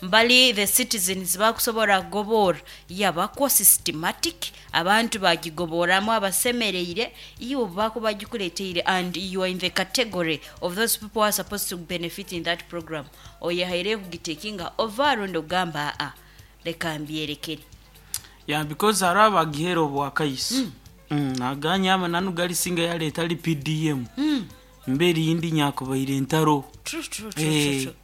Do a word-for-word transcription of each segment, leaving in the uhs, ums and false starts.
Mbali the citizens bakusobora kugobora yabako systematic, abantu bagigoboramu abasemereire, iwe bakuba bagikuleteire and you are in the category of those people who are supposed to benefit in that program, oyehaire kugitekinga over rundi ogamba, "Aa, leka mbyerekere"? Yeah, because hariho abagihera obwakaiso mm. naganya amananu galisinga yaleeta ali P D M mm. mbe erindi nyakubaire entaro. True, true, true, Eh, true, true.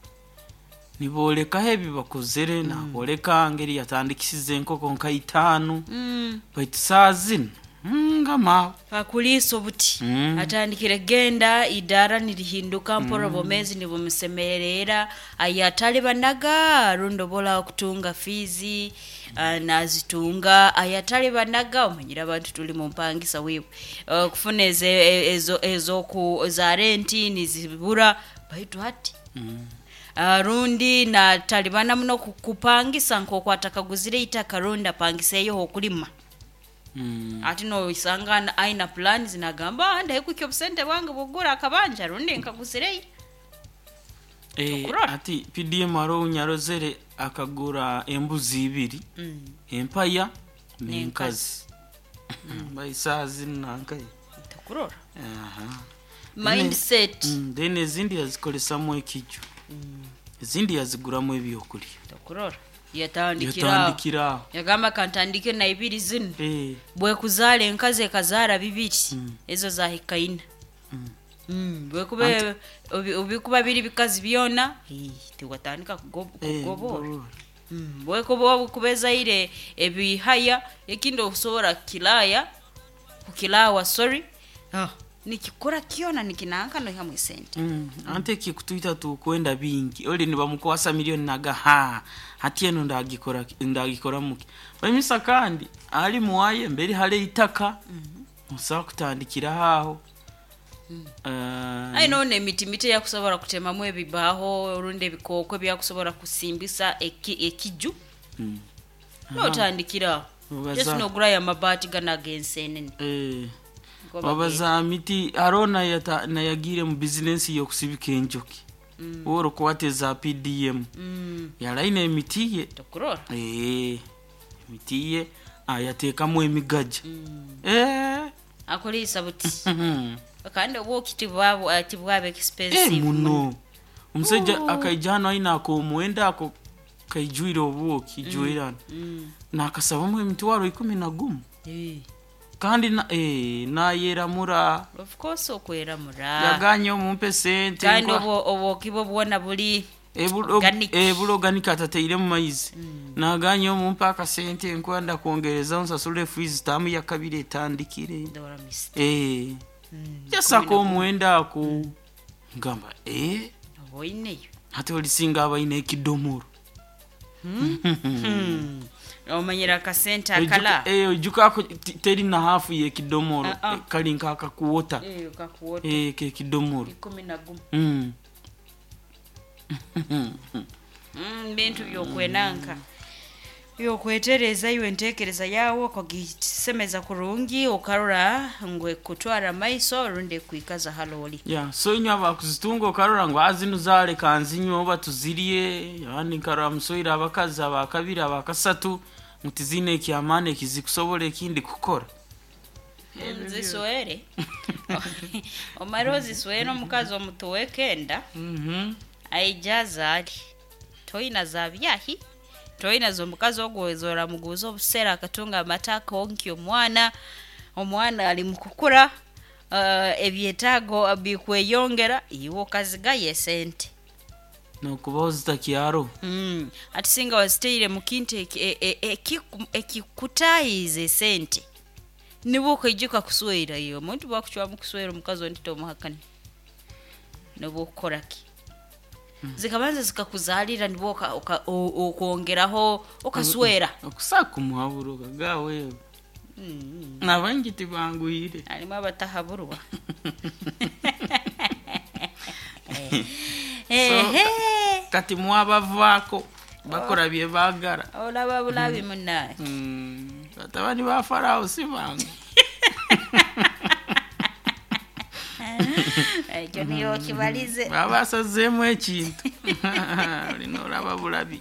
Nibolekaho ebi bakozere, naboleka ngeri yatandikisize enkoko nka itaano, Mm. baitu saa zino mm, ngama Akuliisa obuti Mm. atandikire genda idara nirihinduka mpora, obwomezi nibumusemerera, ayatali banaga rundi obola okutunga fiizi, ah, nazitunga. Ayatali banaga, omanyire abantu tuli mu mpangisa wiwe, okufuna eze- ezo ezoku za renti nizibura, baitu hati Mm. Ah, rundi natalibana muno ku- kupangisa nk'oku atakaguzire itaka rundi apangiseyo okulima. Mm. Ati noisanga na- aina plans, nagamba, "Ah, ndahikukya obusente bwange bugura akabanja rundi nkaguzireyo." Eh, Okurora. Ati P D M hariho nyarozere akagura embuzi ibiri, Mm. empaya n'enkazi, baisaa zino nankaye. Tokurora. Aha. Mindset. Mm, then ezindi yazikolesamu ekiju, ezindi yaziguramu ebyokulya. Tokurora, yatandikira. Yatandikira aho. Yagamba, "Kantandike na ibiri zino." Eh, Bwekuzaala enkazi ekazaara bibiri, Mm. ezo zahikaina. mm. Mm, bwekuba obi- obikuba biri bikazi byona, ii, tiwatandika kugo- Eh, kugobora. kugobora. Mm, bwekuba kuba ezaire ebihaya, ekindi okusobora kukilaya, kukilawa, sorry, ah, nikikora kyona nikinanka noihamu esente. Mm, ante kikutwita tukwenda bingi, oli nibamukwasa milioni naga ha hati eno ndagikora ndagikora muki baimisa, kandi ali muwaye mberi hale itaka musobola kutandikira aho. Eh, Ayi, nona emiti mito eyakusobola kutemamu ebibaho rundi ebikooko ebyakusobola kusimbisa eki- ekiju, mm. notandikira aho. Obaza- Just nogurayo amabaati gano ag'ensenene. Eh, Go. Wabaza miti, hariho nayata- nayagire mu bizinesi yokusibika enjoki, mm. Orokwata eza P D M, Mm, yalaina emiti ye. Tokurora. Eh, emiti ye ayateekamu emigaja. Mm. Eh, Akuliisa buti. mhm. Kandi obwoki tibwaba tibwaba Eh, expensive. Muno omusajja akaija hano aina akomuwenda ako kaijwire obwoki ijwirana, Mm. nakasabamu emitwaro ikumi na gumu. Eh, Kandi na- eh, nayeramura. Of course, okweramura. Yaganye omumpe sente. Kandi nkwa- obwo obwoki bwo bwona buli Ebu- organic. eh, buli organic, atateire mu maizi. Naganye omumpe akasente nkwenda kwongereza nsasule fees tamu ya kabiri etandikire. Ndora misita. Eh, jasako omuwenda ako, ngamba, eh, Oba oineyo. Ate olisinga abalina ekidomolo. Hmm. Omanyira akasente akala. Ojuka- eh, ojuka ako ti- teri na hafu yekidomolo. Ah, ah. Eh, kali nkakakuwota. Eh, kakuwota. Eh, kekidomolo. Ikumi na gumu. Mm. Mm, bintu byokwenanka byokwetereza iwe entekereza yawe okagisemeza kurungi, okarora ngu ekutwara maiso rundi ekwikaza haloli. Yeah, so inywe abakuzitunga okarora ngu azinu zaleka nzinywe oba tuzirye, abandi nkarora musoire abakazi abakabiri abakasatu ngu tizine ekyamaani ekizikusobola ekindi kukora. Ziswere, omare oziswere omukazi omutuwe kenda, Mhm. aija azaale, toina za byahi, toina z'omukazi ogwo zoramuguza obusera akatunga amata akonkya omwana. Omwana ali mukukura, uh, ebyetaago bikweyongera, iwe okazigayo esente. Nokubaho zitakyaro. mm. ati singa waziteire mu kintu eki- e- e- ekiku- ekikutayiza esente, nibwo okaijuka kuswera. Iyo omuntu bwakucwamu kuswera omukazi ondi tomuhakani, nobwo okukoraki zikabanza zikakuzalira, nibwo oka- oka- o- okwongeraho okaswera. Okusaka omuhaburo kagawe, Mm. nabangi tibangwire. Harimu abatahaburwa. So, Ehe. Kati mwabavaako bakora bye baagala. Olaba bulabi munaye. Mm, batabani ba Farawo si bangu. Ekyo niyo kibalize. Baba basazeemu ekintu olina olaba bulabi.